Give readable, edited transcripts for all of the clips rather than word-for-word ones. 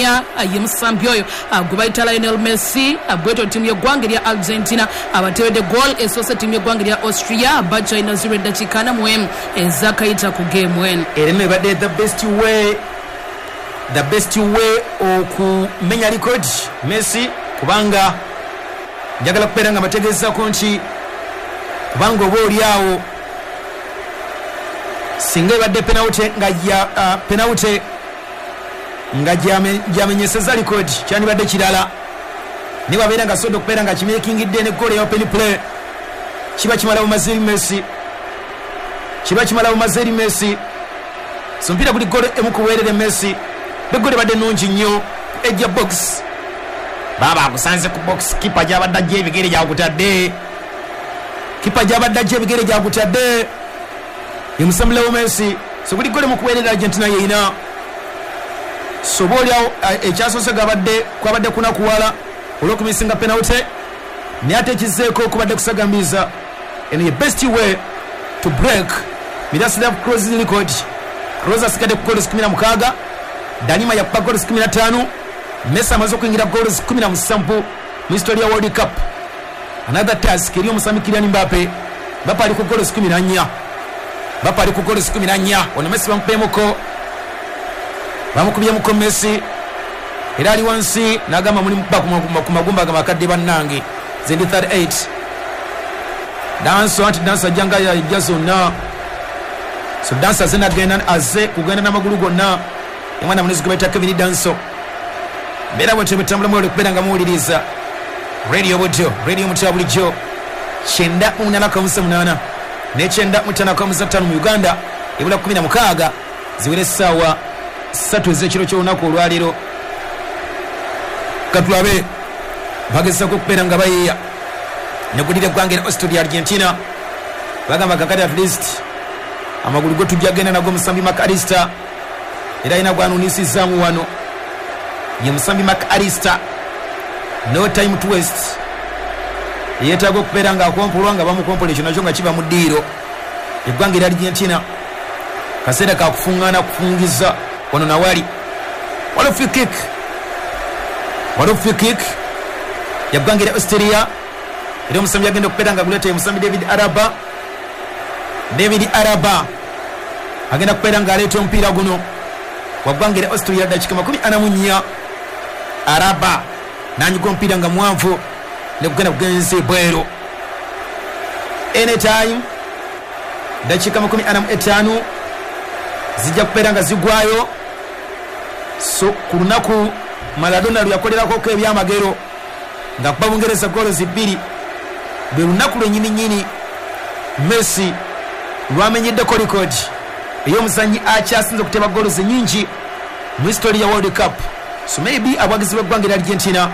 14 ye musambi oyo gwe bayita Lionel Messi. Bwetyo ttiimu y'eggwanga erya Argentina abateeredde goal esoose ttiimu y'eggwanga erya Austria bakyalina 0 eddakiika 41 ezakayita ku geemu eno. Era eno ebadde the best way, the best way okumenya likodi Messi, kubanga njagala kubeera nga mbategeezako nti kubanga oba oli awo singa ebadde penalty nga ya penalty nga gyamenyeseza likodi kyandibadde kirala, naye babeera nga asobodde okubeera nga kimeekingidde ne goal ya open play, kiba kimala bumaze eri Messi, kiba kimala bumaze eri Messi. So omupiira guli goal emu ku bwerere Messi, be goal ebadde nnungi nnyo ejja box, baaba akusanze ku box, kipa gy'abadde ajja ebigere gyakutadde, kipa gy'abadde ajja ebigere gyakutadde ye musambi Leo Messi. So guli goal emu ku bwerere Argentina yeina. So oba oliawo ekyasoose gabadde kwabadde kunakuwala olw'okumisinga penalty, naye ate ekizzeeko kubadde kusagambiza. Eno ye best way to break Miroslav Klose record. Klose asigadde ku goals 16, Danima yakuba goals 15, Messi amaze okuyingira goals 17 mu history ya World Cup. Another task eri omusambi Kylian Mbappe. Mbappe ali ku goals 14, Mbappe ali ku goals 14. Ono Messi bamukubyemukko, bamukubyemuko Messi era ali wansi n'agamba muli mukuba ku magumba ga makadde bannange, ze ndi 38. Danso anti Danso ajja nga yajja zonna, so Danso azze nagenda, azze kugenda n'amagulu gonna, omwana munezi gwe bayita Kevin Danso. Mbeera bwetyo bwetambula mwewale okubeera nga muwuliriza Radio Bujo, radio mutya bulijjo 98.8 ne 95.5 mu Uganda. Ebula 16 ziwere essaawa 3 ez'ekiro ky'olunaku olwaleero. Katulabe bagezaako okubeera nga bayeeya negulira eggwanga era Austria Argentina bagamba kakati at least amagulu go tujja genda nago. Musambi McAllister era alina gwanunisizaamu wano ye musambi McAllister, no time to waste, yeetaaga okubeera nga akompolwa nga bamukompola, ekyo nakyo nga kiba mu ddiiro. Eggwanga era Argentina kaseera kakufuŋŋaana kufungiza wano nawali waliwo free kick, waliwo free kick yaggwanga era Australia, era omusambi agenda okubeera nga guleeta ye musambi David Araba. David Araba agenda kubeera nga aleeta omupiira guno waggwanga era Australia, dakika 44. Araba nanyiga omupiira nga mwanvu nekugenda kugenza ebweru. Anytime dakiika 45 zijja kubeera nga zigwayo. So ku lunaku Maradona lwe yakolerako ebyamagero nga kuba Bungereza goolo 2, lwe lunaku lwennyini nnyini Messi lwamenyeddeko record ey'omuzannyi akyasinze okuteba goolo nyingi mu history ya World Cup. So maybe abawagizi b'eggwanga erya Argentina,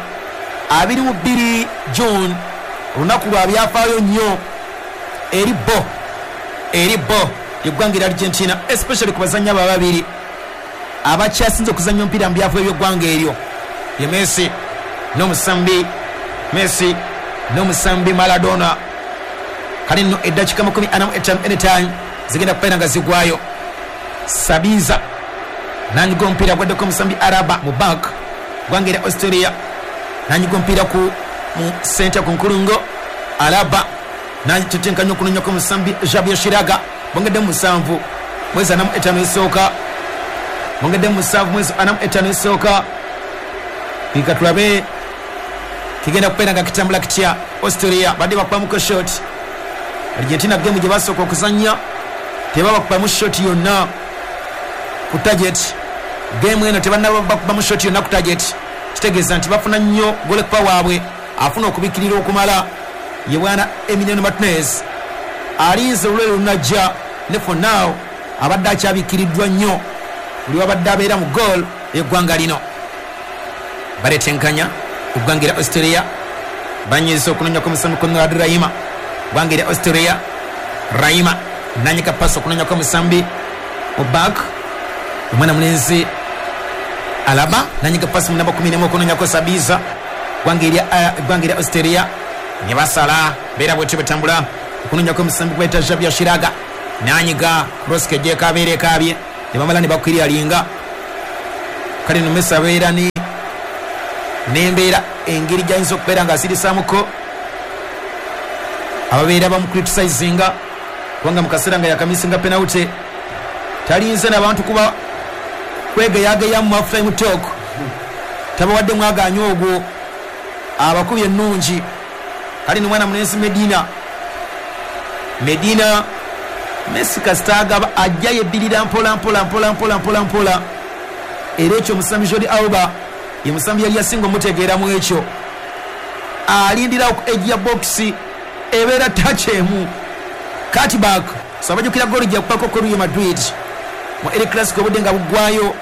22 June olunaku lwa byafaayo nnyo eri bo, eri bo eggwanga erya Argentina, especially ku bazannyi abo ababiri abakyasinze okuzannya omupiira mu byafaayo by'eggwanga eryo, ye Messi n'omusambi, Messi n'omusambi Maradona. Kale nno eddakiika 45 anytime zigenda kubeera nga zigwayo. Sabiza nanyiga omupiira gwaddeko omusambi Araba mu bank gwanga era Australia, nanyiga omupiira ku mu center ku nkulungo, Araba natetenkanya okunonyako omusambi Javier Shiraga. Bongedde 7 mwezi 45 esooka, bongedde 7 mwezi 45 esooka. Pika tulabe kigenda kubeera nga kitambula kitya. Australia badde bakubamuko shot, Argentina game gye basooka okuzannya tebabakubamu shot yonna ku target. Game eno tebannaba bakubamu shot yonna ku target, kitegeeza nti bafuna nnyo goalkeeper waabwe afuna okubikirira okumala, ye bwana Emiliano Martinez alinze olwero lunajja, ne for now abadde akyabikiriddwa nnyo buli wabadde abeera mu goal eggwanga lino. Baletenkanya eggwanga erya Australia, banyiza okunonyako omusambi Konrad Laimer, ggwanga erya Australia. Laimer nanyika pasi okunonyako omusambi mu back, omwana mulenzi Alaba nanyika pasi mu namba 11 okunonyako Sabiza, ggwanga erya Australia ne basala beera bwetyo betambula okunonyako omusambi gweta Javier Shiraga, nanyiga cross kejje kabeere kaabye ne bamala ne bakwiryalinga. Kale no Messi abeera ne N'embeera engeri gy'ayinza okubeera ng'asirisaamuko ababeera bamucriticizinga kubanga mu kaseera nga yakamisinga penalty talinze n'abantu kuba kwegeyageyamu mu half time talk, tabawadde mwagaanyi ogwo, abakubi ennungi. Kale ni mwana mulenzi Medina. Medina Messi kasita agaba ajja yebbirira mpola mpola mpola mpola mpola mpola, era ekyo omusambi Jordi Alba ye musambi yali yasinga omutegeeramu ekyo. Alindira ku edge ya box, ebeera touch emu cutback. So abajjukira ggoolo gye yakubako ku Real Madrid mu El Clasico obudde nga buggwayo,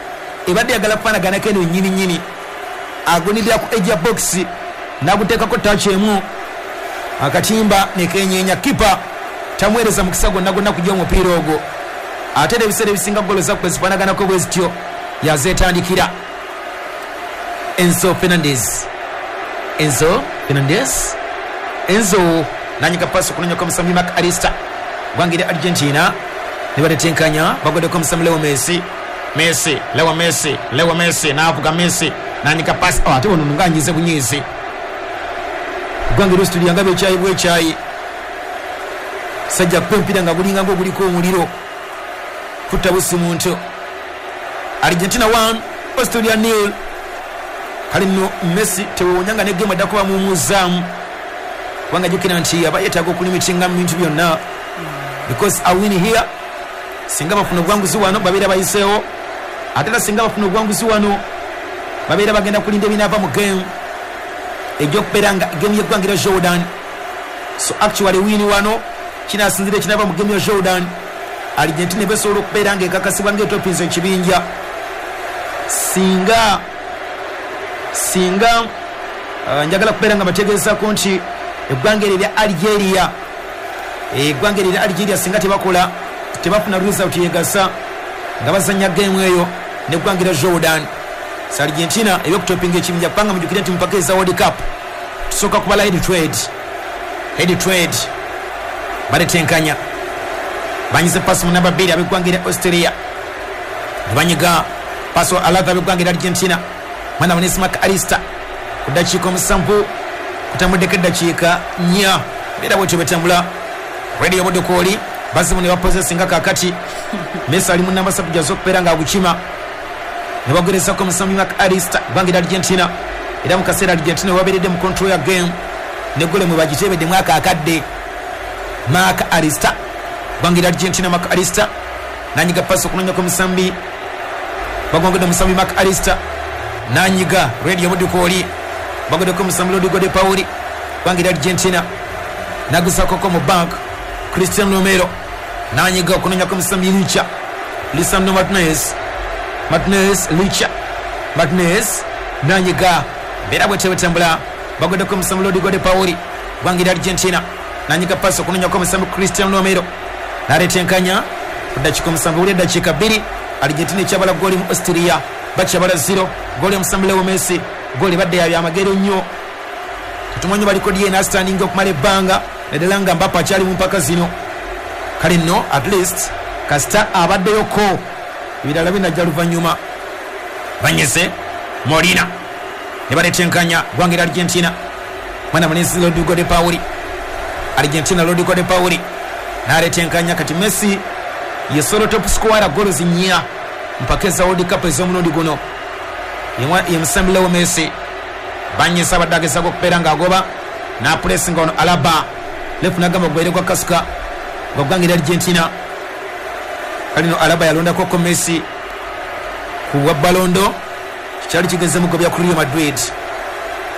ebadde yagala kufaanaganako eno nnyini nnyini. Agunirira ku edge ya box n'aguteekako touch emu, akatimba ne kenyeenya. Kipa tamuweereza mukisa gwonna gwonna kujja omupiira ogwo. Ate era ebiseera ebisinga ggoolo zakwe zifaanaganako bwe zityo yazeetandikira. Enzo Fernandez, Enzo Fernandez, Enzo nanyiga pasi okunonyako omusambi Mark Alista gwangira Argentina ne batetenkanya, bagoddeko omusambi Leo Messi. Messi, Leo Messi, Leo Messi n'avuga Messi nanyiga pasi. Oh, ate wano nga anyize bunyiizi. Gwangira Australia nga bekyayi bwekyayi, sajja kupa empira nga gulinga ng'oguliko omuliro kutta busi muntu. Argentina 1 Australia 0. Kale nno Messi tewewunya nga ne game addako bamuwummuzaamu, kubanga jjukira nti aba yeetaaga okulimitinga mu bintu byonna, because a win here, singa bafuna obuwanguzi wano babeera bayiseewo, ate era singa bafuna obuwanguzi wano babeera bagenda kulinda ebinaava mu game ejja nga game y'eggwanga erya Jordan. So actually win wano kinasinzira ekinaava mu game ya Jordan. Argentina ebesobola okubeera nga ekakasibwa ng'etopinza ekibinja singa njagala kubeera nga bategeezako nti eggwanga eryo erya Algeria, eggwanga eryo erya Algeria singa tebakola tebafuna result yegasa nga bazanya game eyo n'eggwanga erya Jordan. So Argentina ebyokutopinga ekibinja, kubanga mujjukire nti mupaka eza World Cup tusooka kubala head trade, head trade baletenkanya, banyize pasi mu namba 2 ab'eggwanga erya Australia ne banyiga pasi alatha ab'eggwanga erya Argentina. Mwana munesi Mark Alista ku ddakiika 7 kutambuddeko eddakiika 4, mbeera bwetyo betambula. Radio Budukooli bazimu ne bapozesinga kakati Messi ali mu namba 3 gyaza okubeera ng'agukima ne bagerezako omusambi Mark Alista ggwanga erya Argentina. Era mu kaseera Argentina webabeeredde mu control ya game ne gole mwe bagiteebedde mwaka akadde. Mark Alista ggwanga erya Argentina, Mark Alista nanyiga pasi okunonyako omusambi, bagongedde omusambi Mark Alista nanyiga Radio Budukooli, bagoddeko omusambi Rodrigo de Pauli ggwanga erya Argentina, nagusakoko mu bank Cristiano Romero nanyiga okunonyako omusambi Licha, Lisandro Martinez, Martinez Licha, Martinez nanyiga mbeera bwetyo bwetambula, bagoddeko omusambi Rodrigo de Pauli ggwanga erya Argentina nanyiga pasi okunonyako omusambi Cristiano Romero naletenkanya ku ddakiika 7 buli eddakiika 2. Argentina ekyabala ggooli mu Austria bakyabala 0, ggooli omusambi Leo Messi, ggooli badde ya byamagero nnyo. Tetumanyi baliko DNA astandinga okumala ebbanga naddala nga Mbappe akyali mu mpaka zino. Kale nno at least kasita abaddeyoko, ebirala binajja luvannyuma. Banyeze Molina ne baletenkanya ggwanga erya Argentina. Mwana mulenzi Rodrigo de Pauli, Argentina Rodrigo de Pauli n'aletenkanya. Kati Messi ye solo top scorer goals 4 mpaka eza World Cup ez'omulundi guno. Ye musambi Leo Messi banyesa abadde agezaako okubeera ng'agoba n'apulesinga ono Alaba lefu n'agamba gwaire gwa kasuka gwa ggwanga erya Argentina. Kale no Alaba yalondakoko Messi ku bwa Ballon d'Or, kyali kigeze mugobya ku Real Madrid.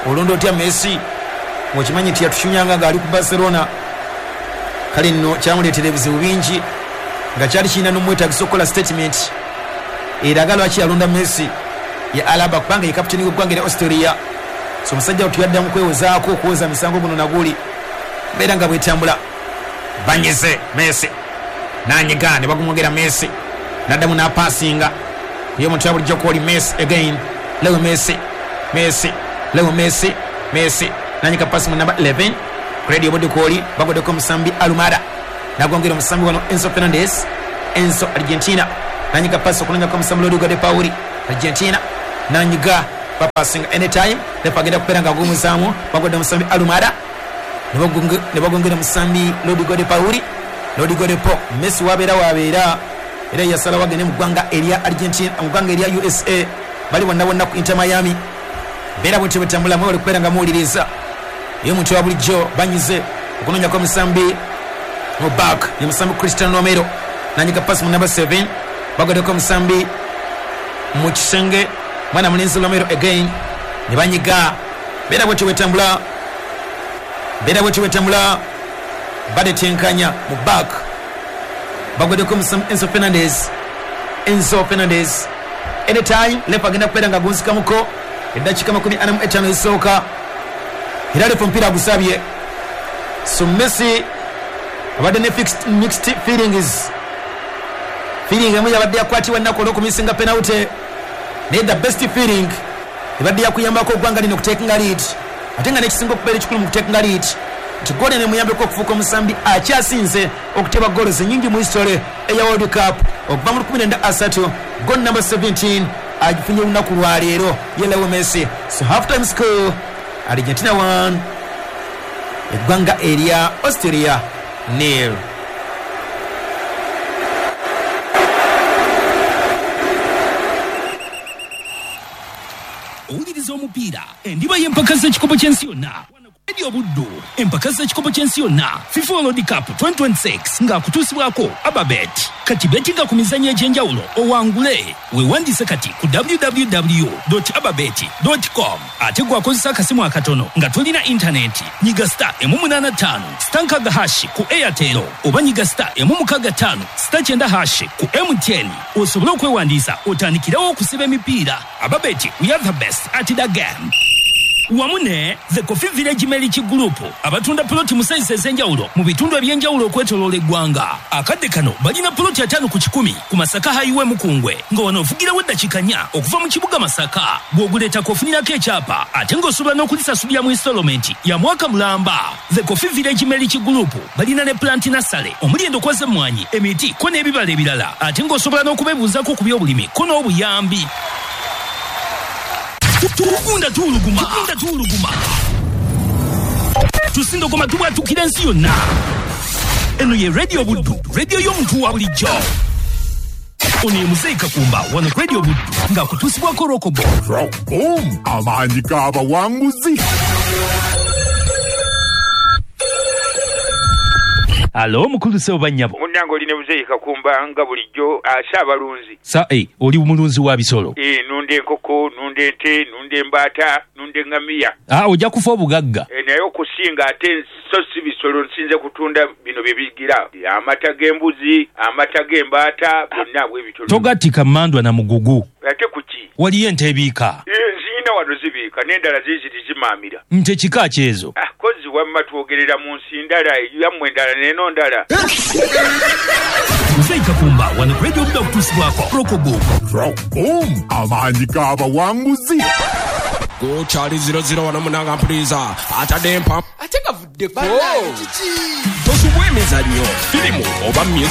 Olonda otya Messi ng'okimanyi nti yatushunyanga ng'ali ku Barcelona. Kale nno kyamuleetera ebizibu bingi nga kyali kirina n'omwetagisa okukola statement eraga lwaki yalonda Messi ye Alaba, kubanga ye kapiteni w'eggwanga erya Australia. So omusajja tuyaddamu kwewozaako okwoza misango guno naguli mbeera nga bwetambula. Banyize Messi nanyiga ne bagumwogera Messi naddamu n'apasinga ye omuntu ya bulijjo kwoli Messi again, Leo Messi, Messi, Leo Messi, Messi nanyiga pasi mu namba 11 Radio Budukooli, bagoddeko omusambi Alumada nagongera omusambi wano Enzo Fernandez, Enzo Argentina nanyiga pasi okunonyako omusambi Rodrigo de Pauli Argentina nanyiga Bapasinga anytime refa agenda kubeera nga agumuzaamu. Bagwadde omusambi Alumada, ne bagongera omusambi Rodrigo de Pauli, Rodrigo de Po. Messi wabeera wabeera era yasalawo agende mu ggwanga erya Argentina, mu ggwanga erya USA. Bali bonna bonna ku Inter Miami. Beera bwetyo bwetambula, mwewale kubeera nga muwuliriza. Ye omuntu wa bulijjo banyize okunoonyako omusambi mu back, ye musambi Cristiano Romero, nanyiga pasi mu number 7. Bagoddeko omusambi mu kisenge, mwana mulenzi Romero again, ne banyiga. Beera bwetyo bwetambula, beera bwetyo bwetambula, badetenkanya mu back. Bagoddeko omusambi Enzo Fernandez, Enzo Fernandez. Anytime lefa agenda kubeera nga agunzikamuko eddakiika 45 ezisooka, era lefa omupiira agusabye. So Messi abadde ne mixed feelings. Feeling emu yabadde yakwatibwa ennaku olw'okumisinga penalty, naye the best feeling ebadde yakuyambako eggwanga lino okutekinga lead, ate nga n'ekisinga okubeera ekikulu mu kutekinga lead nti goolo eno emuyambeko okufuuka omusambi akyasinze okuteba goals ennyingi mu history eya World Cup okuva mu 1930. Goal number 17 agifunye olunaku lwaleero ye Leo Messi. So half time score, Argentina 1, eggwanga erya Austria nil. Owuliriza omupiira, endiba y'empaka z'ekikopo ky'ensi yonna. Radio Buddu, empaka z'ekikopo ky'ensi yonna FIFA World Cup 2026 ng'akutuusibwako Ababet. Kati betinga ku mizannyo egy'enjawulo owangule. Weewandiise kati ku www.ababet.com. Ate gwakozesa akasimu akatono nga tolina intaneti, nyiga star 885 star 6 hash ku Airtel oba nyiga star 665 star 9 hash ku MTN osobole okwewandiisa otandikirewo okusiba emipiira. Ababet, we are the best at the game. Wamu ne The Coffee Village Milk Group, abatunda poloti mu sayizi ez'enjawulo mu bitundu eby'enjawulo okwetoloola eggwanga. Akadde kano balina poloti 50 ku 100 ku Masaka Highway Mukungwe, nga wano ovugirawo eddakiika 4 okuva mu kibuga Masaka. Bw'oguleetako ofunirako ekyapa, ate ng'osobola n'okulisasulira mu installment ya mwaka mulamba. The Coffee Village Milk Group balina ne plant nursery omuli endokwa z'emmwanyi, emiti ko n'ebibala ebirala, ate ng'osobola n'okubeebuuzaako ku by'obulimi ko n'obuyambi. Tugunda tuwuluguma, tugunda tuwuluguma, tusindogoma, tubwatukira ensi yonna. Eno ye Radio Buddu, radio y'omuntu wa bulijjo. Ono ye Muzeyi Kakumba wano Radio Buddu ng'akutuusibwako Rokobo. Rockboom, amaanyi g'abawanguzi. Alo mukulu, sebo, bannyabo. Munnange, oli ne Muzeeyi Kakumba nga bulijjo ase abalunzi. Sa oli mulunzi wa bisolo? Nunda enkoko, nunda ente, nunda embaata, nunda eŋŋamiya. Ah, ojja kufa obugagga. Naye okusinga ate so si bisolo, nsinze kutunda bino bye bigira amata g'embuzi, amata g'embaata, byonna bwe bityo. Togattika mmandwa na mugugu. Ate kuki? Waliyo ente ebiika? Nziina wano zibiika, n'endala ziiziri zimaamira. Nte kika kyezo? Ah, kozi wamma twogerera mu nsi ndala, yammwe endala n'eno ndala. Muzeeyi Kakumba wano ku Radio Buddu akutuusibwako Rokobo. Rockboom, amaanyi g'abawanguzi. Gukyali 00 wano munanga, mpuliza atadde empa Ate gavuddeko. Tosubwa emizannyo, firimu oba music.